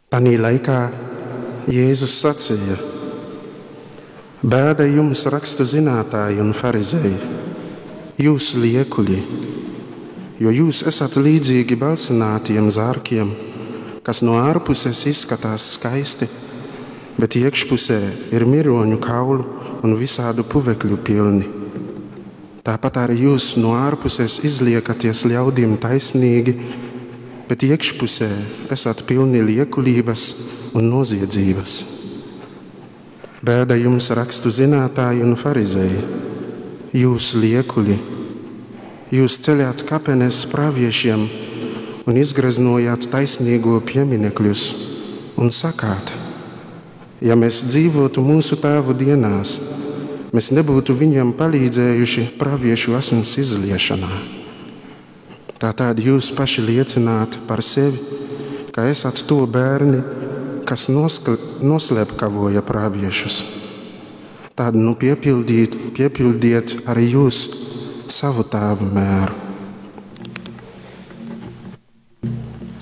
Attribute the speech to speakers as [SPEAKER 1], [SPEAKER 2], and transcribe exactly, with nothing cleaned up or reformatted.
[SPEAKER 1] Tanī laikā Jēzus saceja: Bēda jums, rakstu zinātāji un farizeji, jūs liekuļi, jo jūs esat līdzīgi balsinātiem zārkiem, kas no ārpuses izskatās skaisti, bet iekšpusē ir miroņu kaulu un visādu puvekļu pilni. Tāpat arī jūs no ārpuses izliekaties ļaudīm taisnīgi, bet iekšpusē esat pilni liekulības un noziedzības. Bēda jums, rakstu zinātāji un farizeji, jūs liekuļi! Jūs ceļāt kapenes praviešiem un izgreznojāt taisnīgo pieminekļus un sakāt: ja mēs dzīvotu mūsu tēvu dienās, mēs nebūtu viņiem palīdzējuši praviešu asins izliešanā. Tātad jūs paši liecināt par sevi, ka esat to bērni, kas noslepkavoja praviešus. Tad nu piepildiet, piepildiet arī jūs savu tēvu mēru.